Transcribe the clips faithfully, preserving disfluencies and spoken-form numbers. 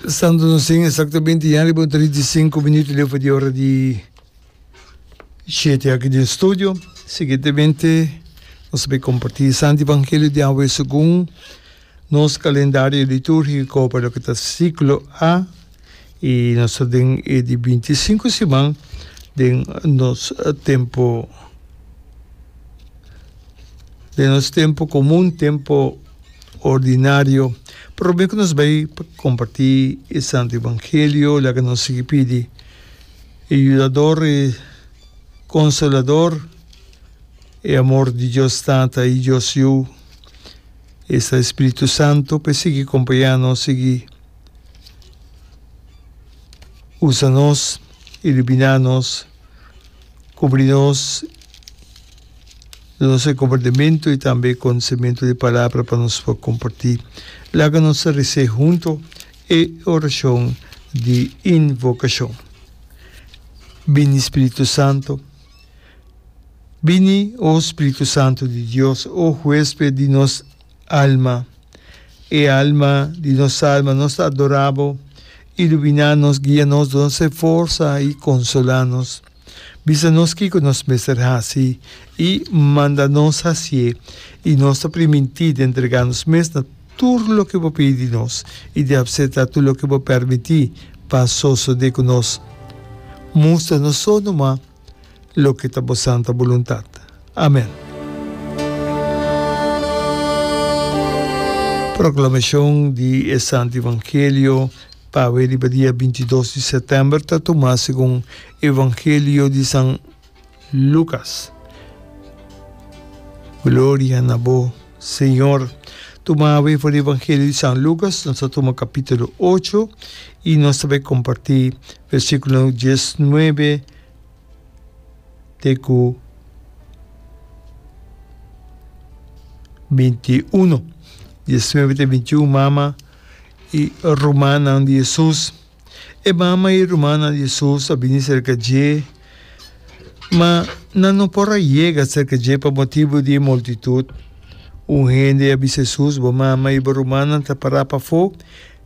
Stando nos tin exactamente ya riba un trinta i sinku minuut leu for di ora di shete aki den studio. Siguientemente nos ta bay comparti e Santo Evangelio di awe segun nos calendario liturgico pa loke ta ciclo A y nos ta den e di binti i sinku siman den nos tempo den nos tempo comun, tempo ordinario. Prome ku nos bai pa kompartí e Santu Evangelio, laga nos sigui pidi e Yudador, e Konsolador, e amor di Dios Tata i Dios Yu, esta e Spiritu Santu, pa e sigui kompañá nos, sigui usa nos, iluminá nos, kubri nos. Nos e kompartimentu i tambe e konosementu di palabra pa nos por kompartí. Laga nos ta resé hunto e orashon di invokashon. Bini Spiritu Santu. Bini, o Spiritu Santu di Dios, o huesped di nos alma. E alma di nos alma, nos ta adorá bo. Iluminá nos, guia nos, duna nos e forsa i konsolá nos. Bisa nos kiko nos mester hasi i manda nos hasié, i nos ta primintí di entregá nos mes na tur loke bo pidi di nos i di apseptá tur loke bo pèrmití pa sosodé ku nos. Mustra nos so numa loke ta bo santa boluntat. Amèn. Proklamashon di e Santu Evangelio. Pawe riba dia binti dos di sètèmber ta tumá segun Evangelio di San Lukas. Gloria na bo, Señor. Tuma awe for di Evangelio di San Lukas, nos ta tuma kapítulo ocho i nos ta bai kompartí versíkulo diesnuebe te ku binti uno. Diesnuebe te binti un, mama. I rumannan di Hesus. E mama i rumannan di Hesus a bini serka dje, ma nan no por a yega serka dje pa motibu di e multitut. Un hende a bisa Hesus, Bo mama i bo rumannan ta pará pafó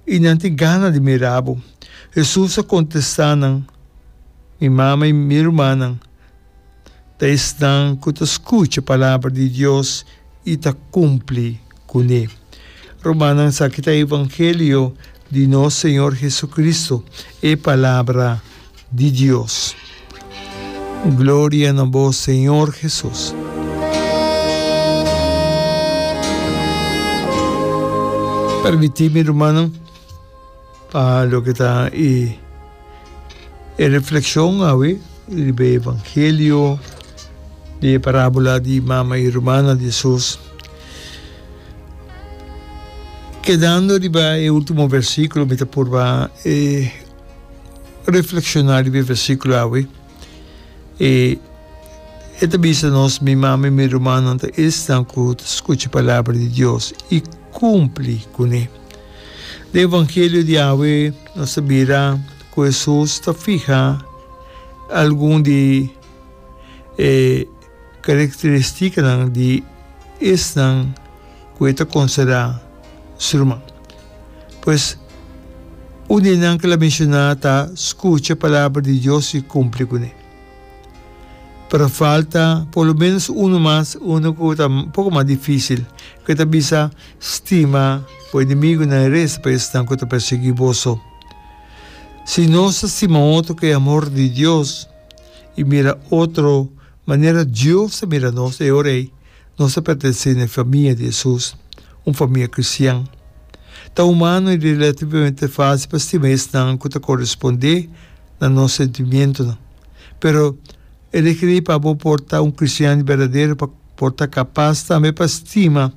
i nan tin gana di mira bo. Hesus a kontestá nan, Mi mama i mi rumannan ta esnan ku ta skucha palabra di Dios i ta kumpli kuné. Rumannan, esaki ta e evangelio di nos Señor Jesucristo, e palabra di Dios. Gloria na bo, Señor Jesus. Permití mi, rumannan, pa loke ta e e reflexion awe riba e evangelio di e parabola di mama i rumannan di Jesus. Kedando riba e ultimo versiculo mi ta purba e reflexiona riba e versiculo awe. E e ta bisa nos, Mi mama i mi rumannan ta esnan ku ta skucha palabra di Dios i kumpli kuné. Den evangelio di awe nos ta mira ku Hesus ta fiha algun di e karakteristikanan di esnan ku e ta konsiderá su ruman. Pues, un di nan ku el a menshoná ta skucha palabra di Dios i kumpli kuné. Pero falta por lo menos uno mas, uno ku ta un poko mas difísil, ku e ta bisa, Stima bo enemigunan i resa pa esnan ku ta persiguí boso. Si nos ta stima otro ku e amor di Dios i mira otro manera Dios ta mira nos, e ora ei nos ta pertenesé na e famia di Hesus, un famia kristian. Ta humano i relativamente fásil pa stima esnan ku ta korespondé na nos sentimientonan. Pero e rekerí pa bo por ta un kristian berdadero pa por ta kapas tambe pa stima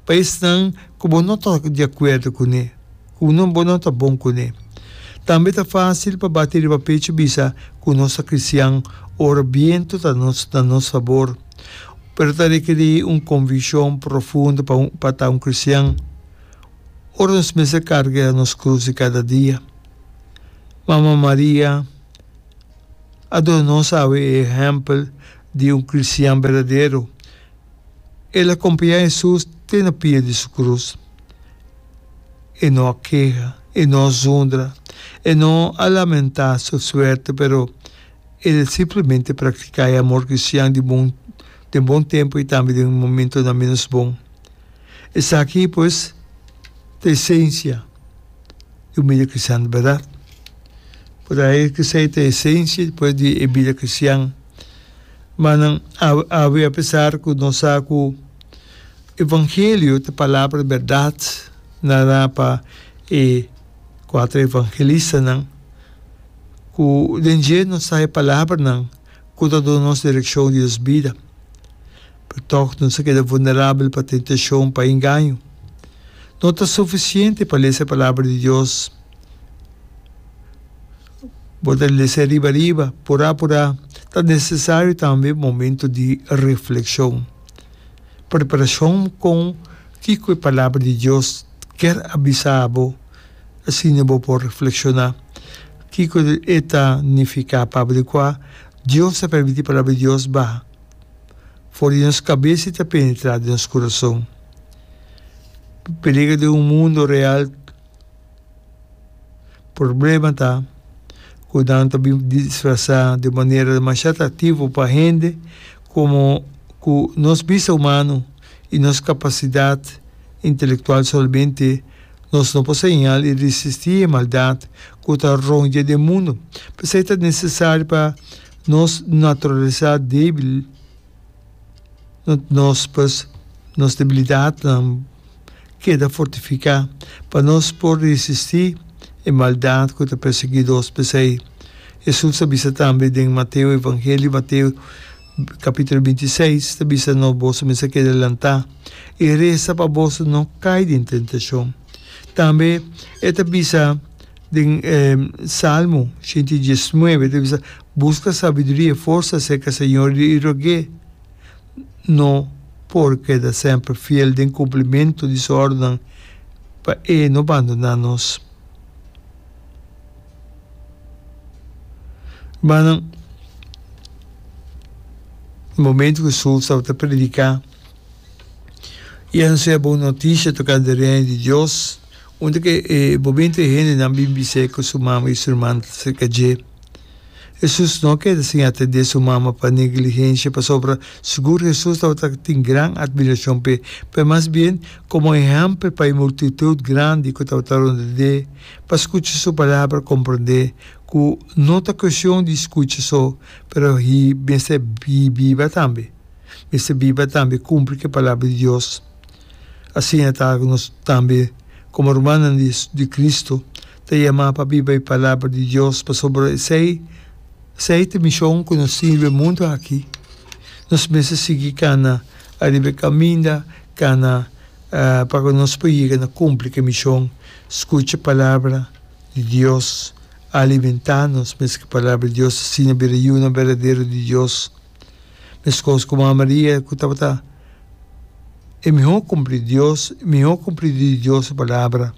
pa esnan ku bo no ta di akuerdo kuné, ku no bo no ta bon kuné. Tambe ta fásil pa bati riba pechu bisa ku nos ta kristian ora bientu ta nos na nos fabor. Pero ta rekerí un konvikshon profundo pa pa ta un kristian ora nos mester karga nos krus di kada dia. Mama Maria a duna nos awe e ehèmpel di un kristian berdadero. El a kompañá Hesus te na pia di su krus. E no a keha E no a zundra, e no a lamentá su suerte, pero el simplemente praktiká e amor kristian di bon den bon tempu i tambe den momentonan ménos bon. Esaki, pues, ta esensia di un bida kristian di bèrdat. Por ahí esei ta esensia, pues, di e bida kristian. Manan awe apesar ku nos sa ku evangelio ta palabra di bèrdat nará pa e kuater evangelistanan, ku den dje nos ta e palabranan ku ta duna nos direkshon di nos bida. Pero tòg nos a keda vulnerabel pa tentashon, pa engaño. No ta sufisiente pa lesa e Palabra di Dios. Bo ta lesa riba riba, purá purá. Ta nesesario tambe momento di reflekshon. Preparashon kon kiko e Palabra di Dios kier a bisa bo, asina bo por reflekshoná kiko e ta nifiká pa bo. Di kua Dios ta permití Palabra di Dios baha for di nos kabes i ta penetrá den nos kurason. Peliger den un mundo real. Problema ta ku nan ta bin disfrasá di un manera demasiado atraktivo pa hende komo ku nos bista humano i nos kapasidat intelektual solamente nos no por señal i resistí e maldat ku ta rondia den mundu. P'esei ta nesesario pa nos naturalesa débil, nos pues nos debilidatnan keda fortifiká pa nos por resistí e maldat ku ta persiguí nos. P'esei, Hesus a bisa tambe den Mateo, Evangelio di Mateo, kapítulo binti i seis, ta bisa nos, Boso mester keda lantá i resa pa boso no kai den tentashon. Tambe e ta bisa den Salmo shenti i diesnuebe, e ta bisa, Buska sabiduria i forsa serka Señor i rog'é. No por keda semper fiel den kumplimentu di su òrdunan pa e no bandoná nos. Rumannan, na momentu ku Hesus tabata prediká i anunsiá e bon notisia tokante e Reino di Dios, unda ku e momentu e hendenan bin bis'é ku su mama i su rumannan ta serka dje. Hesus no a keda sin atendé su mama pa negligensia, pasobra sigur Hesus tabata tin gran atmirashon p'e, pero mas bien komo ehèmpel pa e multitut grandi ku tabata rond'é pa skucha su palabra, komprondé ku no ta kuestion di skucha so, pero hi mester biba tambe, mester biba tambe kumpli ku e palabra di Dios. Asina ta ku nos tambe komo rumannan di Kristu ta yamá pa biba e Palabra di Dios, pasobra esei esei ta e mishon ku nos tin riba e mundu aki. Nos mester sigui kana ariba e kaminda, kana pa ku nos por yega na kumpli ku e mishon. Skucha e Palabra di Dios, alimentá nos mes ku e Palabra di Dios, asina bira yunan berdadero di Dios. Meskos ku Mama Maria ku tabata e mihó kumpli Dios, mihó kumplidó di Dios su palabra,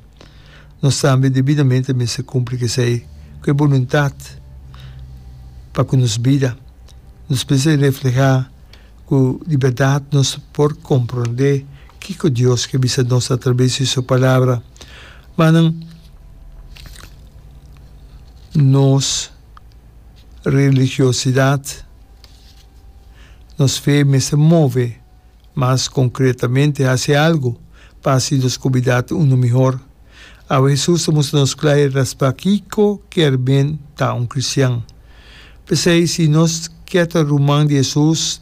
nos tambe debidamente mester kumpli ku esei, ku e boluntat pa ku nos bida. Nos mester reflehá ku di bèrdat nos por komprondé kiko Dios ke bisa nos atrabes di su palabra. Manan nos religiosidat. Nos fe mester move, mas konkretamente hasi algu pa hasi nos komunidat unu mihor. Awe Hesus ta mustra nos kla i raspa kiko kier men ta un kristian. P'esei, si nos kier ta ruman di Hesus,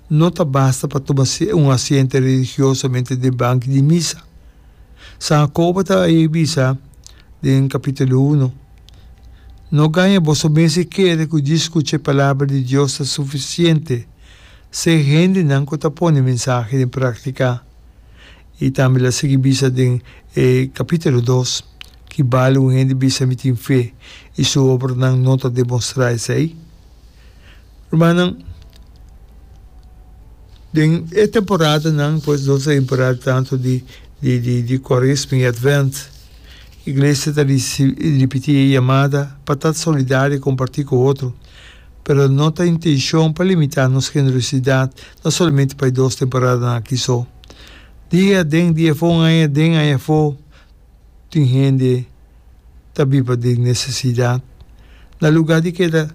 no ta basta pa tuma un asiento religiosamente den banki di misa. San Jakobo ta ei bisa den kapítulo uno. No gaña boso mes i kere ku djis skucha e Palabra di Dios ta sufisiente. Ser hendenan ku ta pone mensahe den práktika. I tambe el a sigui bisa den e kapítulo dos, Ki bale un hende bisa mi tin fe i su obranan no ta demostrá esei? Rumannan, den e temporadanan, pues nos temporada tantu di di di di Kuaresma i Advent, Iglesia ta ripití e yamada pa ta solidario i kompartí ku otro, pero no ta intenshon pa limitá nos generosidat no solamente pa e dos temporadanan aki so. Dia aden, dia afó, un aña aden, aña afó, tin hende ta biba den nesesidat. Na lugá di keda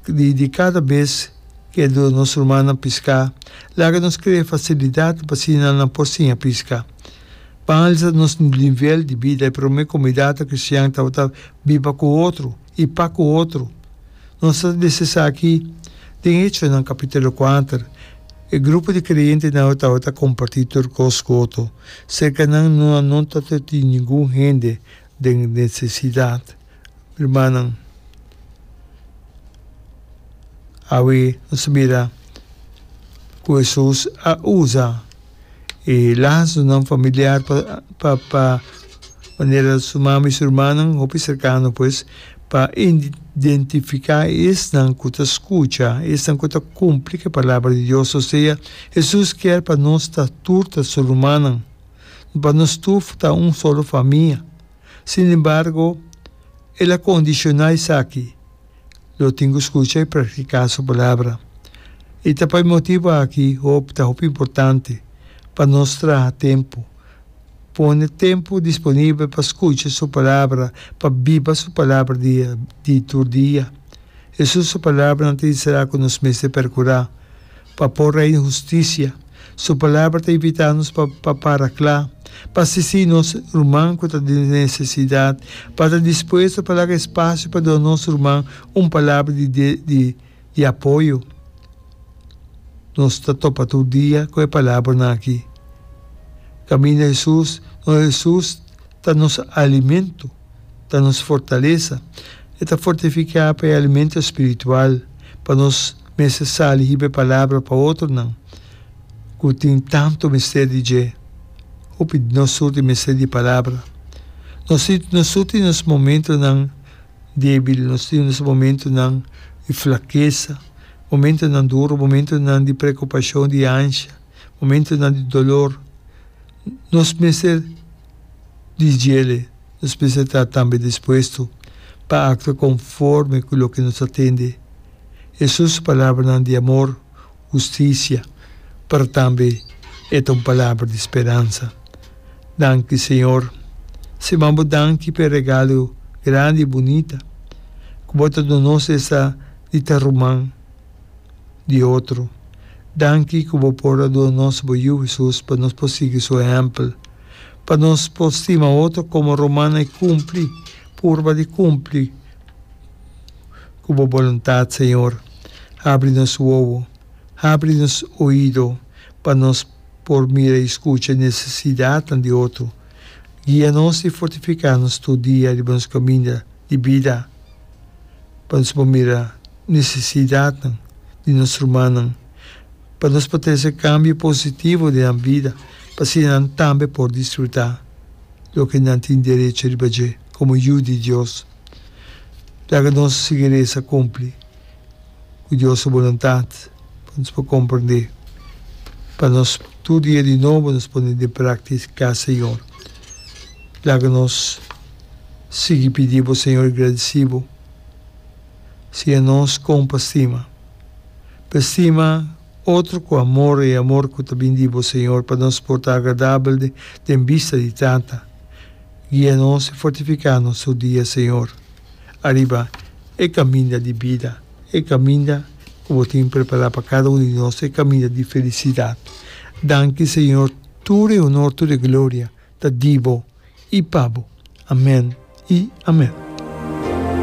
di di kada bes ke duna nos rumannan piská, laga nos krea fasilidatnan pa asina nan por siña piska. Pa alsa nos nivel di bida, e promé komunidatnan kristian tabata biba ku otro i pa ku otro. Nos ta lesa esaki den Echonan kapítulo kuater. E grupo di kreyentenan tabata kompartí tur kos ku otro. Serka nan no no tabata tin ningun hende den nesesidat. Rumannan, awe nos ta mira ku Hesus a usa e lasonan familiar pa pa pa manera su mama i su rumannan hopi serkano pues pa identifiká esnan ku ta skucha, esnan ku ta kumpli ku e palabra di Dios. Osea, Hesus kier pa nos ta tur ta su rumannan, pa nos tur ta un solo famia. Sin embargo, el a kondishoná esaki, Lo tin ku skucha i praktiká su palabra. I ta pa e motibu aki hopi ta hopi importante pa nos traha tempu, pone tempu disponibel pa skucha su palabra, pa biba su palabra dia di tur dia. Hesus su palabranan ta enserá ku nos mester perkurá pa por reina hustisia. Su Palabra ta invitá nos pa pa para kla, pa asistí nos ruman ku ta den nesesidat, pa ta dispuesto pa laga espasio pa duna nos ruman un palabra di di di apoyo. Nos ta topa tur dia ku e palabranan aki. Kaminda Hesus, nos Hesus ta nos alimento. Ta nos fortalesa. E ta fortifiká pa e alimento spiritual pa nos mester sali hiba e palabra pa otronan ku tin tantu mester di dje. Hopi di nos tur tin mester di palabra. Nos tin nos tur tin nos momentonan débil, nos tin nos momentonan di flakesa, momentonan duru, momentonan di preokupashon, di ansha, momentonan di dolor. Nos mester di djele. Nos mester ta tambe dispuesto pa aktua konforme ku loke nos ta tende. Hesus su palabranan di amor, hustisia, pero tambe e ta un palabra di speransa. Danki Señor. Siman bo danki pa e regalo grandi i bunita ku bo ta duna nos esta di ta ruman di otro. Danki ku bo por a duna nos bo Yu Hesus pa nos por sigui su ehèmpel. Pa nos por stima otro komo rumannan i kumpli, purba di kumpli ku bo boluntat, Señor. Habri nos wowo, habri nos oido pa nos por mira i skucha e nesesidatnan di otro. Guia nos i fortifiká nos tur dia riba nos kaminda di bida pa nos por mira nesesidatnan di nos rumannan. Pa nos por trese kambio positivo den nan bida, pa asina nan tambe por disfrutá loke nan tin derecho riba dje komo yu di Dios. Laga nos sigui resa kumpli ku Dios su boluntat pa nos por komprendé, pa nos tur dia di nobo nos pone den práktika, Señor. Laga nos sigui pidi bo, Señor, i gradisí bo. Siña nos kon pa stima. Pa stima otro ku amor, e amor ku ta bin di bo, Señor, pa nos por ta agradabel den bista di Tata. Guia nos i fortifiká nos tur dia, Señor, ariba e kaminda di bida, e kaminda ku bo tin prepará pa kada un di nos, e kaminda di felisidat. Danki, Señor, tur e honor, tur e gloria ta di bo i pa bo. Amèn i amèn.